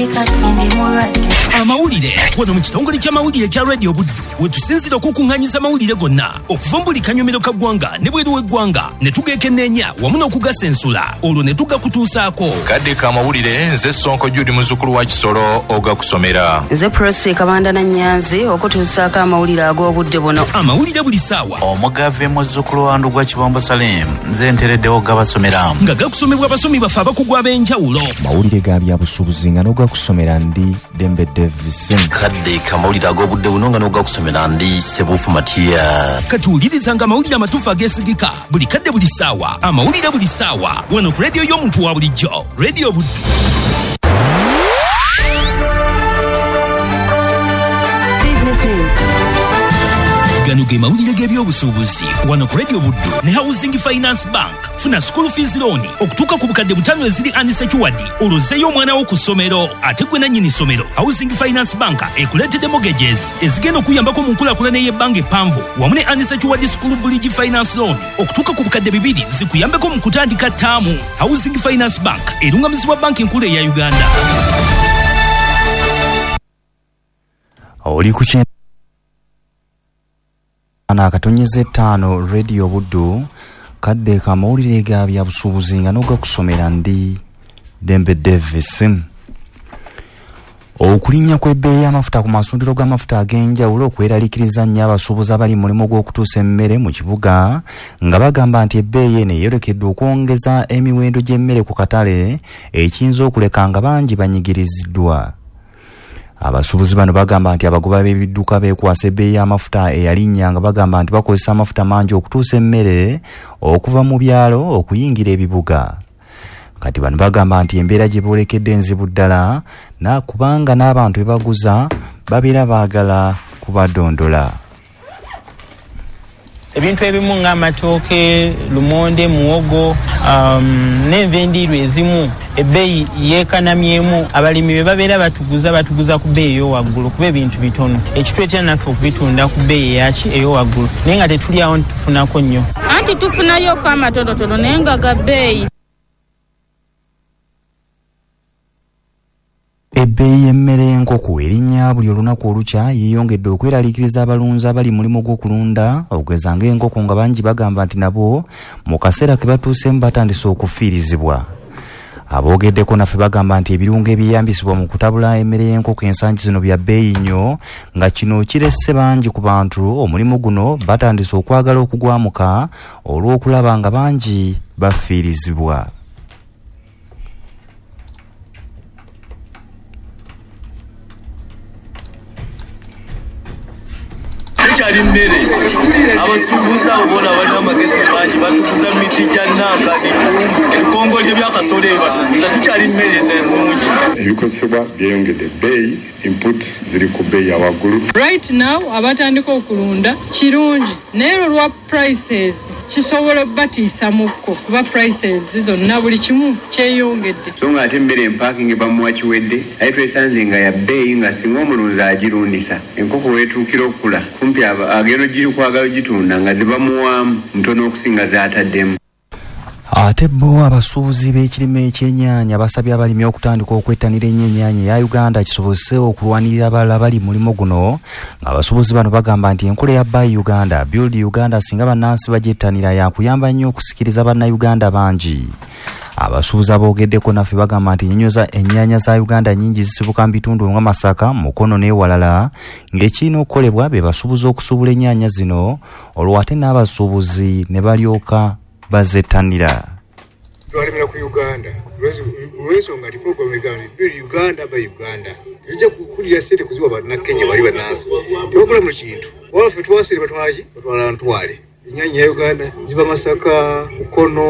Ndi kati ndi mulwadde. Amawulire wano mu kitongole ky'amawulire kya Radio Buddu wetusinzira okukuŋŋaanyiza amawulire gonna okuva mu buli kanyomero ka ggwanga ne bweru w'eggwanga ne tugeekenneenya wamu n'okugasensula olwo ne tugakutuusaako. Kadde k'amawulire, nze Sonko Jude muzzukulu wa Kisolo ogakusomera. Nze Prosi Kabanda na Nyanzi okutuusaako amawulire ag'obudde buno. Amawulire buli ssaawa. Omugave muzzukulu wa Ndugwa Kibombo Salim, nze ntereddewo gabasomera. Nga gakusomebwa abasomi baffe abakugu ab'enjawulo. Mawulire ga byabusuubuzi nga n'ogakusomera ndi Dembe Davis. Kadde kamawulire ag'obudde buno nga n'ogakusomera ndi Sebufu Matia. Katuwulirizanga amawulire amatuufu ageesigika buli kadde buli ssaawa. Amawulire buli ssaawa wano ku rediyo y'omuntu wa bulijjo, Radio Buddu. Business news. Gano ge mawulire g'ebyobusuubuzi wano ku Radio Buddu ne Housing Finance Bank. Funa school fees loan okutuuka ku bukadde 5 eziri unsecured olwozeeyo omwana wo ku ssomero ate gwe nannyini ssomero. Housing Finance Bank ekuleetedde mortgages ezigenda okuyambako mu nkulaakulana ey'ebbanga eppanvu wamu ne unsecured school bridge finance loan okutuuka ku bukadde 2 zikuyambeko mu kutandika ttaamu. Housing Finance Bank erungamizibwa banki enkulu eya Uganda. Oli ku 9.5 Radio Buddu. Kadde kamawulire ga byabusuubuzi nga n'ogakusomera ndi Dembe Davis. Okulinnya kw'ebbeeyi y'amafuta ku masundiro g'amafuta ag'enjawulo okweraliikiriza nnyo abasuubuzi abali mu mulimu gw'okutuusa emmere mu kibuga nga bagamba nti ebbeeyi eno eyolekedde okwongeza emiwendo gy'emmere ku katale ekiyinza okuleka nga bangi banyigiriziddwa. Abasuubuzi bano bagamba nti abagoba b'ebidduka beekwasa ebbeeyi y'amafuta eyalinnya nga bagamba nti bakozesa amafuta mangi okutuusa emmere okuva mu byalo okuyingira ebibuga. Kati bano bagamba nti embeera gye boolekedde enzibu ddala na kubanga n'abantu be baguza babeera baagala kubadondola. Ebintu ebimu ng'amatooke, lumonde, muwogo, n'enva endiirwa ezimu ebbeeyi yeekanamyemu. Abalimi be babeera batuguza ku bbeeyi ey'owaggulu kuba ebintu bitono, ekituleetera naffe okubitunda ku bbeeyi eyaki ey'owaggulu, naye nga tetuli awo ntitufunako nnyo. Anti tufunayoko amatonotono naye nga ga bbeeyi. Ebbeeyi y'emmere y'enkoko erinnya buli olunaku olukya yeeyongedde okweraliikiriza abalunzi abali mu mulimu gw'okulunda okugeza ng'enkoko nga bangi bagamba nti nabo mu kaseera ke batuuseemu batandise okufiirizibwa. Aboogeddeko naffe bagamba nti ebirungo ebyeyambisibwa mu kutabula emmere y'enkoko ensangi zino bya bbeeyi nnyo nga kino kiresse bangi ku bantu omulimu guno batandise okwagala okugwamuka olw'okulaba nga bangi bafiirizibwa. Tekyali mmere, abasuubuzi abo boona balina amagezi mangi, batuguza miti gya nnanga, ebikongolyo bya kasolo ebyo batuguza, tekyali mmere ennungi. Ebikozesebwa byeyongedde ebbeeyi, inputs ziri ku bbeeyi ya waggulu. Right now abatandika okulunda kirungi, naye olwa prices kisobola obbatiisamukko kuba prices zonna buli kimu kyeyongedde. So nga ate emmere empaakingi bamuwa kiwedde, aye twesanze nga ya bbeeyi nga singa omulunzi agirundisa enkoko weetuukira okukula kumpi agenda okwagala ogitunda nga zibamuwaamu ntono okusinga z'ataddemu. Ate bo abasuubuzi b'ekirime eky'ennyaanya basabye abalimi okutandika okwettanira ennyo ennyaanya eya Uganda kisobozese okulwanirira abalala bali mu mulimu guno. Ng'abasuubuzi bano bagamba nti enkola ya Buy Uganda, Build Uganda singa bannansi bagyettanira yakuyamba nnyo okusikiriza bannayuganda bangi. Abasuubuzi aboogeddeko naffe bagamba nti ennyaanya za Uganda nnyingi zisibuka mu bitundu nga Masaka, Mukono n'ewalala ng'ekirina okukolebwa be basuubuzi okusuubula ennyaanya zino olwo ate n'abasuubuzi ne balyoka bazettanira. Twalemera ku Uganda olw'ensonga nti program egamba Build Uganda by Uganda ejja kukulira ssente kuziwa bannakenya bali bannansi tebakola mu kintu wabula ffe twasire batwala ki batwala ntwale. Ennyaanya ya Uganda ziva Masaka, Mukono,